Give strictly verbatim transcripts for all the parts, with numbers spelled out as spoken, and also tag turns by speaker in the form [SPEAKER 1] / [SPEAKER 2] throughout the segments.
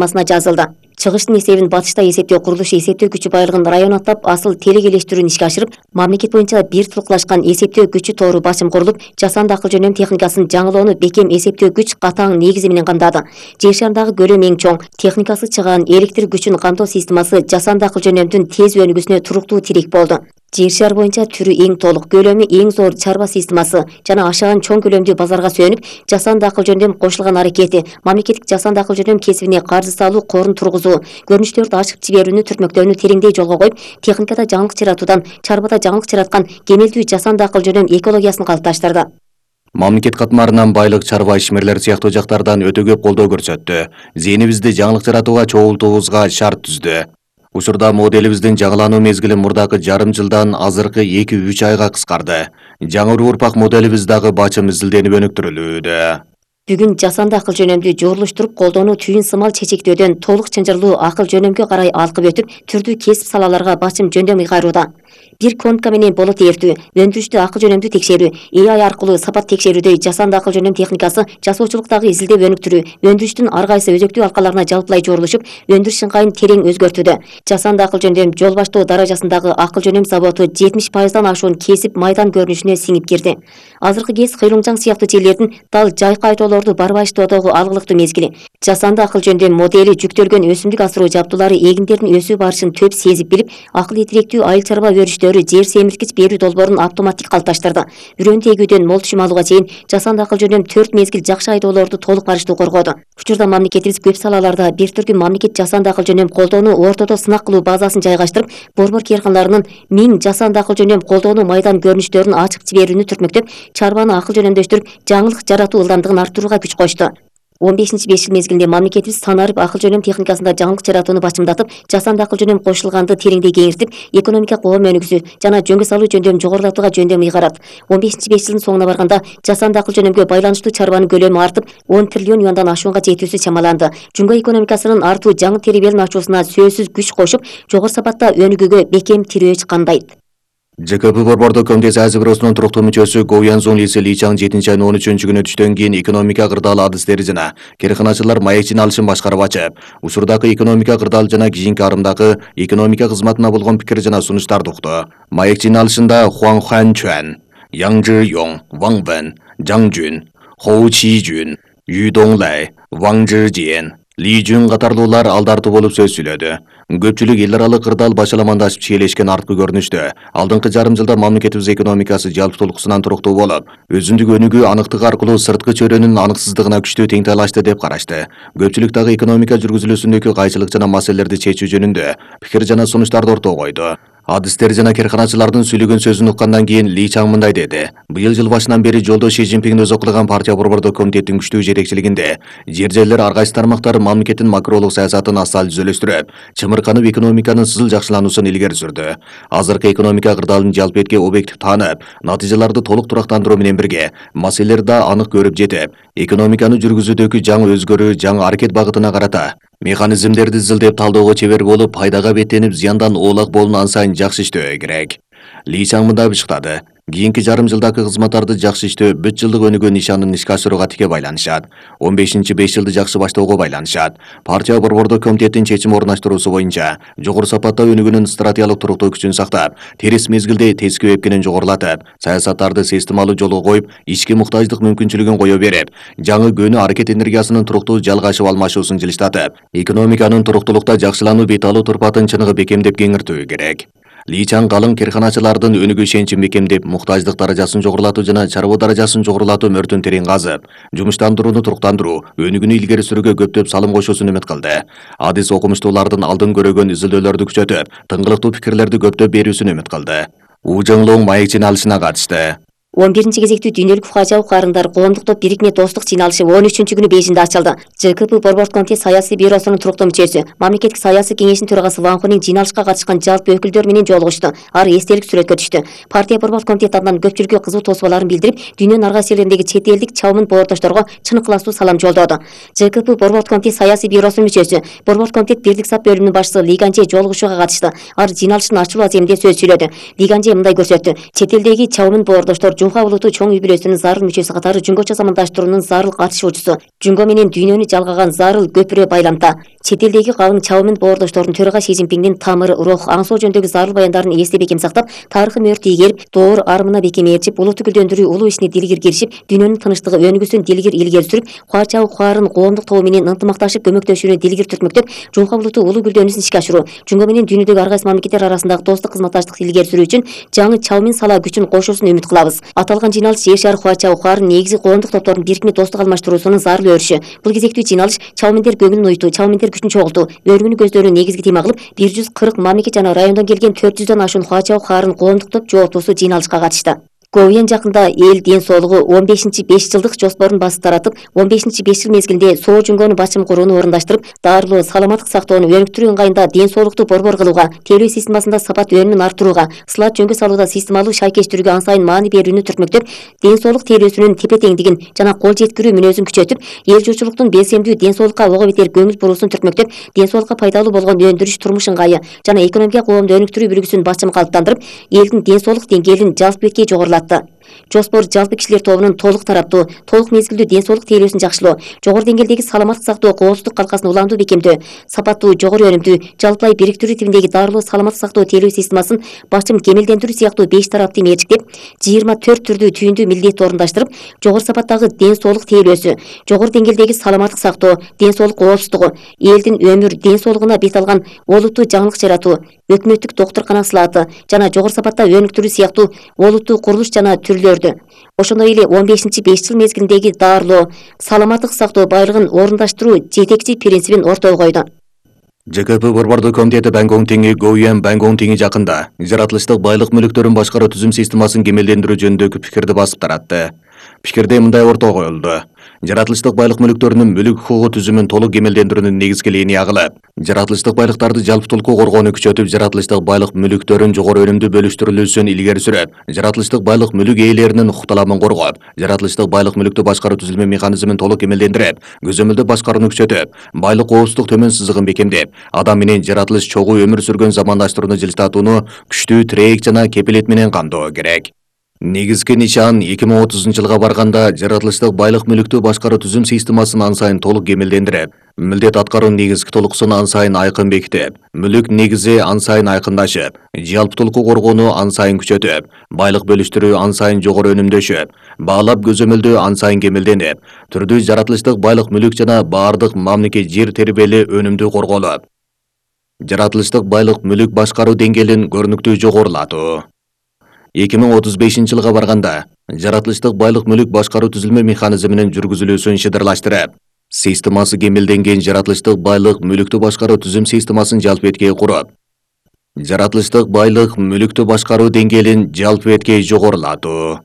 [SPEAKER 1] масына жазылды. Чыгыштын эсебин батышта эсептөө курулушу эсептөө күчү байлыгын район аттап асыл телек элештирүүнү ишке ашырып, мамлекет боюнча бир тулуклашкан эсептөө күчү тоору басым курулуп, жасанды акыл жөнөм техникасын жаңылоону бекем эсептөө күч катаң негизи менен камдады. Жер шарындагы көлөмү эң чоң, техникасы чыгаан электр күчүн камтоо системасы жасанды акыл жөнөмдүн тез өнүгүүсүнө туруктуу тирек болду. Жер шар боюнча түрү эң толук, көлөмү эң зор чарба системасы жана ашаган чоң көлөмдүү базарга сүйөнүп, жасанды акыл жөнөм кошулган аракети мамлекеттик жасанды акыл жөнөм кесибине каржы салуу корун тургузуу, көрүнүштөрдү ачык жиберүүнү түртмөктөөнү тереңдей жолго коюп, техникада жаңылык жаратуудан чарбада жаңылык жараткан кемелдүү жасанды акыл жөнөм экологиясын калыпташтырды.
[SPEAKER 2] Мамлекет катмарынан байлык, чарба, ишмерлер сыяктуу жактардан өтө көп колдоо көрсөттү. Зээнибизди жаңылык жаратууга чогултуубузга шарт түздү. Учурда моделибиздин жаңылануу мезгили мурдакы жарым жылдан азыркы эки үч айга кыскарды. Жаңы урпак моделибиз дагы бачым изилденип өнүктүрүлүүдө.
[SPEAKER 1] Бүгүн жасанды акыл жөнөмдү жорулуштуруп колдонуу түйүн сымал чечектөөдөн толук чынжырлуу акыл жөнөмгө карай алкып өтүп, түрдүү кесип салаларга бачым жөндөм ыйгарууда. Бир конка менен болот ээртүү, өндүрүштү акыл жөнөмдү текшерүү, A I аркылуу сапат текшерүүдөй жасанды акыл жөнөм техникасы жасоочулуктагы изилдеп өнүктүрүү, өндүрүштүн ар кайсы өзөктүү алкаларына жалпылай жорулушуп, өндүрүш ыңгайын терең өзгөртүүдө. Жасанды акыл жөнөм жол баштоо даражасындагы акыл жөнөм заводу жетимиш пайыздан ашуун кесип майдан көрүнүшүнө сиңип кирди. Азыркы кез Кыйлымжаң сыяктуу жерлердин дал жайкы айдоолорду барбай иштоодогу алгылыктуу мезгили. Жасанды акыл жөнөм модели жүктөлгөн өсүмдүк асыруу жабдуулары эгиндердин өсүү барышын төп сезип билип, акыл этиректүү айыл чарба өрүштөрү жер семирткич берүү долбоорун автоматтик калыпташтырды. Үрөн тегүүдөн мол түшүм алууга чейин жасанды акыл жөнөм төрт мезгил жакшы айдоолорду толук барыштуу коргоду. Учурда мамлекетибиз көп салаларда бир түркүм мамлекет жасанды акыл жөнөм колдоону ортодо сынак кылуу базасын жайгаштырып, борбор кыйркандарынын миң жасанды акыл жөнөм колдоону майдан көрүнүштөрүн ачык жиберүүнү түртмөктөп, чарбаны акыл жөнөмдөштүрүп, жаңылык жаратуу ылдамдыгын арттырууга күч кошту. он бешинчи беш жыл мезгилинде мамлекетибиз санарып акыл жөнөм техникасында жаңылык жаратууну бачымдатып, жасанды акыл жөнөм кошулганды тереңдей кеңиртип, экономика коом өнүгүүсү жана жөнгө салуу жөндөм жогорулатууга жөндөм ыйгарат. он бешинчи беш жылдын соңуна барганда жасанды акыл жөнөмгө байланыштуу чарбанын көлөмү артып, он триллион юандан ашуунга жетүүсү чамаланды. Жумга экономикасынын артуу жаңы теребелин ачуусуна сөзсүз күч кошуп, жогору сапатта өнүгүүгө бекем тирөөч камдайт.
[SPEAKER 2] Ж К П борбордук комитет Саясий бюросунун туруктуу мүчөсү Го Янзун Лиси Ли Чаң жетинчи айынын он үчүнчү күнү түштөн кийин экономика кырдаалы адистери жана керканачылар маек жыйналышын башкарып ачып, учурдагы экономика кырдаалы жана кийинки арымдагы экономика кызматына болгон пикир жана сунуштарды укту. Маек жыйналышында Хуан Хан Чуан, Яң Жы Йоң, Ваң Вэн, Жаң Жун, Хоу Чи Жун, Ю Доңлай, Ваң Жы Жиен, Ли Жун катарлуулар алдартуу болуп сөз сүйлөдү. Көпчүлүк эл аралык кырдаал башаламандашып чиелешкен арткы көрүнүштө. Алдыңкы жарым жылда мамлекетибиз экономикасы жалпытуулуксунан туруктуу болуп, өзүндүк өнүгүү аныктык аркылуу сырткы чөйрөнүн аныксыздыгына күчтүү тең талашты деп карашты. Көпчүлүк дагы экономика жүргүзүлүүсүндөгү кайчылык жана маселелерди чечүү жөнүндө пикир жана сунуштарды ортого койду. Адистер жана керканачылардын сүйлөгөн сөзүн уккандан кийин Ли Чаң мындай деди. Быйыл жыл башынан бери жолдо Ши Цзиньпин өзү кылган партия борбордук комитеттин күчтүү жетекчилигинде жер жерлер ар кайсы тармактар мамлекеттин макролук саясатын асал түзөлөштүрүп, чымырканып экономиканын сызыл жакшылануусун илгери сүрдү. Азыркы экономика кырдаалын жалпы объектив таанып, натыйжаларды толук турактандыруу менен бирге маселелер да анык көрүп жетип, экономиканы жүргүзүүдөгү жаңы өзгөрүү, жаңы аракет багытына карата механизмдерди изилдеп талоого чебер болуп, пайдага беттенип, зыяндан оолак болуну ансайын жакшы иштөө керек. Ли Чаң мындай бышыктады. Кийинки жарым жылдагы кызматтарды жакшы иштөө бүт жылдык өнүгүү нишанын ишке ашырууга тике байланышат. он бешинчи беш жылды жакшы баштоого байланышат. Партия борбордук комитеттин чечим орунаштыруусу боюнча жогору сапатта өнүгүүнүн стратегиялык туруктуу күчүн сактап, терис мезгилде тескөө эпкенин жогорулатып, саясаттарды системалуу жолго коюп, ички муктаждык мүмкүнчүлүгүн кое берип, жаңы көөнү аракет энергиясынын туруктуу жалгашып алмашуусун жылыштатып, экономиканын туруктуулукта жакшылануу бет алуу турпатын чыныгы бекемдеп кеңиртүү керек. Ли Чаң калың керканачылардын өнүгүү ишеничин бекемдеп, муктаждык даражасын жогорулатуу жана чарба даражасын жогорулатуу мөртүн терең казып, жумуштандырууну туруктандыруу, өнүгүүнү илгери сүрүүгө көптөп салым кошуусун үмүт кылды. Адис окумуштуулардын алдын көрөгөн изилдөөлөрдү күчөтүп, тыңгылыктуу пикирлерди көптөп берүүсүн үмүт кылды. У Жоңлоң маек жыйналышына катышты.
[SPEAKER 1] он биринчи кезектүү дүйнөлүк фажа укарындар коомдук топ бирикме достук жыйналышы он үчүнчү күнү Бейжиңде ачылды. Ж К П борбордук комитет Саясий бюросунун туруктуу мүчөсү, мамлекеттик саясий кеңешинин төрагасы Ван Хуның жыйналышка катышкан жалпы өкүлдөр менен жолугушту. Ар эстелик сүрөткө түштү. Партия борбордук комитет атынан көпчүлүккө кызуу тосубаларын билдирип, дүйнөнүн ар кайсы жерлериндеги чет элдик чабын боордошторго чын ыкыластуу салам жолдоду. Ж К П борбордук комитет Саясий бюросунун мүчөсү, борбордук комитет бирлик сап бөлүмүнүн башчысы Ли Ганчжэ жолугушууга катышты. Ар жыйналыштын ачылуу аземинде сөз сүйлөдү. Ли Ганчжэ мындай көрсөттү. Чет элдеги чабын боордоштор Жуха улуту чоң үй бүлөсүнүн зарыл мүчөсү катары жүнгөчө замандаштыруунун зарыл катышуучусу, жүнгө менен дүйнөнү жалгаган зарыл көпүрө байламта. Чет элдеги калың чабымын боордоштордун төрага Си Цзиньпиңдин тамыры, рух, аңсоо жөнүндөгү зарыл баяндарын эсте бекем сактап, тарыхый мөөр ийгилип, доор армына бекем ээрчип, улутту гүлдөндүрүү улуу ишине дилгир киришип, дүйнөнүн тынычтыгы өнүгүүсүн дилгир илгери сүрүп, куачабы куарын коомдук тобу менен ынтымакташып көмөктөшүүнү дилгир түртмөктөп, Жуха улуту улуу гүлдөнүүсүн ишке ашыруу, жүнгө менен дүйнөдөгү ар кайсы мамлекеттер арасындагы достук кызматташтыкты илгери сүрүү үчүн жаңы чабымын сала күчүн кошуусун үмүт кылабыз. Аталган жыйналыш жер шары куачабы куарын негизи коомдук топтордун бирикме достук алмаштыруусунун зарыл өрүшү. Бул кезектүү жыйналыш чабымендер көңүлүн уйутуу, чабымендер күчүн чогултуу, өргүнү көздөрүнү негизги тема кылып, бир жүз кырк мамлекет жана райондон келген төрт жүздөн ашуун куачабы куарын коомдук топ жооптусу жыйналышка катышты. Говьян жакында эл ден соолугу он бешинчи беш жылдык жоспорун басып таратып, он бешинчи беш жыл мезгилинде соо жүнгөнү бачым курууну орундаштырып, дарылоо, саламаттык сактоону өнүктүрүү ыңгайында ден соолукту борбор кылууга, тейлөө системасында сапат өнүмүн арттырууга, сылат жөнгө салууда системалуу шайкештирүүгө ан сайын маани берүүнү түртмөктөп, ден соолук тейлөөсүнүн тепе-теңдигин жана кол жеткирүү мүнөзүн күчөтүп, эл журтчулуктун белсемдүү ден соолукка ого бетер көңүл буруусун түртмөктөп, ден соолукка пайдалуу болгон өндүрүш турмуш ыңгайы жана экономика коомду өнүктүрүү бүлгүсүн бачым калыптандырып, элдин ден соолук деңгээлин жалпы бетке жогорулатты. Жоспор жалпы кишилер тобунун толук тараптуу, толук мезгилдүү ден соолук тейлөөсүн жакшылоо, жогору деңгээлдеги саламаттык сактоо коопсуздук калкасын уламдуу бекемдөө, сапаттуу, жогору өнүмдүү, жалпылай бириктирүү типиндеги дарылоо, саламаттык сактоо тейлөө системасын бачым кемелдендирүү сыяктуу беш тараптуу мерчиктеп, жыйырма төрт түрдүү түйүндүү милдетти орундаштырып, жогору сапаттагы ден соолук тейлөөсү, жогору деңгээлдеги саламаттык сактоо, ден соолук коопсуздугу, элдин өмүр, ден соолугуна бет алган олуттуу жаңылык жаратуу, өкмөттүк доктуркана сылааты жана жогору сапатта өнүктүрүү сыяктуу олуттуу курулуш жана түрлөрдү, ошондой эле он бешинчи беш жыл мезгилиндеги дарылоо, саламаттык сактоо байлыгын орундаштыруу жетекчи принцибин ортого койду.
[SPEAKER 2] Ж К П борбордук комитети Бангонг теңи Говьян Бангонг теңи жакында жаратылыштык байлык мүлүктөрүн башкаруу түзүм системасын кемелдендирүү жөнүндөгү пикирди басып таратты. Пикирде мындай ортого коюлду. Жаратылыштык байлык мүлүктөрүнүн мүлүк хукугу түзүмүн толук кемелдендирүүнүн негизги линия кылып, жаратылыштык байлыктарды жалпытуулукку коргоону күчөтүп, жаратылыштык байлык мүлүктөрүн жогору өнүмдүү бөлүштүрүлүүсүн илгери сүрөт, жаратылыштык байлык мүлүк ээлеринин укукталамын коргоп, жаратылыштык байлык мүлүктү башкаруу түзүлмө механизмин толук кемелдендирип, көзөмөлдөө башкарууну күчөтүп, байлык коопсуздук төмөн сызыгын бекемдеп, адам менен жаратылыш чогуу өмүр сүргөн замандаштырууну жылжытууну күчтүү тирээк жана кепилет менен камтоо керек. Негизги нишан эки миң отузунчу жылга барганда жаратылыштык байлык мүлүктү башкаруу түзүм системасын ан сайын толук кемелдендирип, милдет аткаруунун негизги толукусун ан сайын айкын бекитип, мүлүк негизи ан сайын айкындашып, жалпытуулукку коргоону ан сайын күчөтүп, байлык бөлүштүрүү ан сайын жогору өнүмдөшүп, баалап көзөмөлдөө ан сайын кемелденип, түрдүү жаратылыштык байлык мүлүк жана баардык мамлекет жер тербели өнүмдүү корголуп, жаратылыштык байлык мүлүк башкаруу деңгээлин көрүнүктүү жогорулатуу. эки миң отуз бешинчи жылга барганда жаратылыштык байлык мүлүк башкаруу түзүлмө механизминин жүргүзүлүүсүн шыдырлаштырып, системасы кемелденген жаратылыштык байлык мүлүктү башкаруу түзүм системасын жалпы бетке куруп, жаратылыштык байлык мүлүктү башкаруу деңгээлин жалпы бетке жогорулатуу.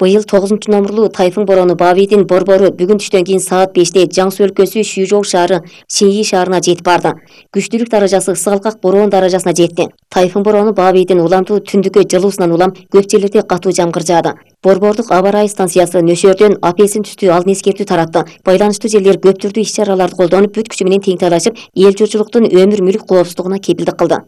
[SPEAKER 1] Быйыл тогузунчу номурлуу тайфун бороону Бабийдин борбору бүгүн түштөн кийин саат беште Жаңсу өлкөсү Шүйжоу шаары Синьи шаарына жетип барды. Күчтүүлүк даражасы сыгалкак бороон даражасына жетти. Тайфун бороону Бабийдин уламдуу түндүккө жылуусунан улам көп жерлерде катуу жамгыр жаады. Борбордук аба ырайы станциясы нөшөрдөн апельсин түстүү алдын эскертүү таратты. Байланыштуу жерлер көп түрдүү иш-чараларды колдонуп, бүт күчү менен тең-талашып, эл журтчулуктун өмүр мүлүк коопсуздугуна кепилдик кылды.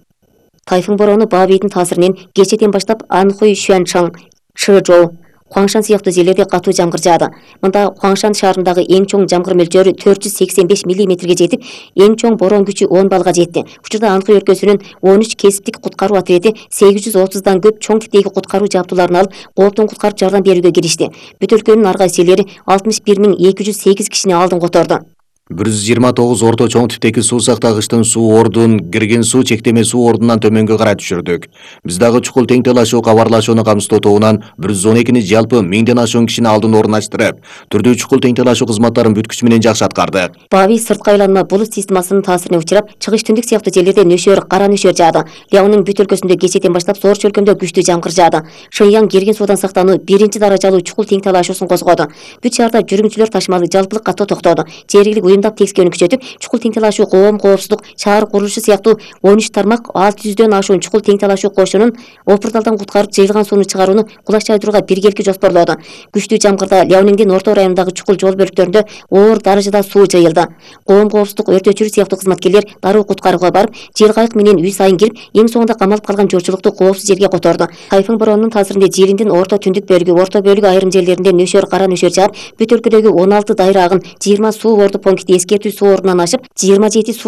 [SPEAKER 1] Тайфун бороону Бабийдин таасиринен кечеден баштап Анхуй, Шуанчан, Чжэжоу, Хуаңшан сыяктуу жерлерде катуу жамгыр жаады. Мында Хуаңшан шаарындагы эң чоң жамгыр мөлчөрү төрт жүз сексен беш миллиметрге жетип, эң чоң бороон күчү он баллга жетти. Учурда Анхуй өлкөсүнүн он үч кесиптик куткаруу отряди сегиз жүз отуздан көп чоң типтеги куткаруу жабдууларын алып, кооптон куткарып жардам берүүгө киришти. Бүт өлкөнүн ар кайсы жерлери алтымыш бир миң эки жүз сегиз кишини алдын которду.
[SPEAKER 2] бир жүз жыйырма тогуз орто чоң типтеги суу сактагычтын суу ордун кирген суу чектеме суу ордунан төмөнгө карай түшүрдүк. Биз дагы чукул тең талашуу кабарлашууну камсыздоо тобунан бир жүз он экини жалпы миңден ашуун кишини алдын орундаштырып, түрдүү чукул тең талашуу кызматтарын бүт күч менен жакшы аткарды.
[SPEAKER 1] Бабий сырткы айланма булут системасынын таасирине учурап, чыгыш түндүк сыяктуу жерлерде нөшөр, кара нөшөр жаады. Ляонун бүт өлкөсүндө кечээден баштап Соор чөлкөмдө күчтүү жамгыр жаады. Шэньян кирген суудан сактануу биринчи даражалуу чукул тең талашуусун козгоду. Бүт шаарда жүргүнчүлөр ташымалы жалпылык катуу токтоду. Жергиликтүү уюмдап текскенин күчөтүп, чукул тең талашуу, коом коопсуздук, шаар курулушу сыяктуу он үч тармак алты жүздөн ашуун чукул тең талашуу кошунун опурдалдан куткарып жыйылган сууну чыгарууну кулаш жайдырууга биргеликти жоспорлоодо. Күчтүү жамгырда Лявниңдин орто районундагы чукул жол бөлүктөрүндө оор даражада суу жыйылды. Коом коопсуздук, өрт өчүрүү сыяктуу кызматкерлер дароо куткарууга барып, жел кайык менен үй сайын кирип, эң соңунда камалып калган журтчулукту коопсуз жерге которду. Тайфун боронунун таасиринде Жириндин орто түндүк бөлүгү, орто бөлүгү айрым жерлеринде нөшөр, кара нөшөр жаап, бүт өлкөдөгү он алты дайра агын, жыйырма суу орду пункти эскертүү суу ордунан ашып, жыйырма жети суу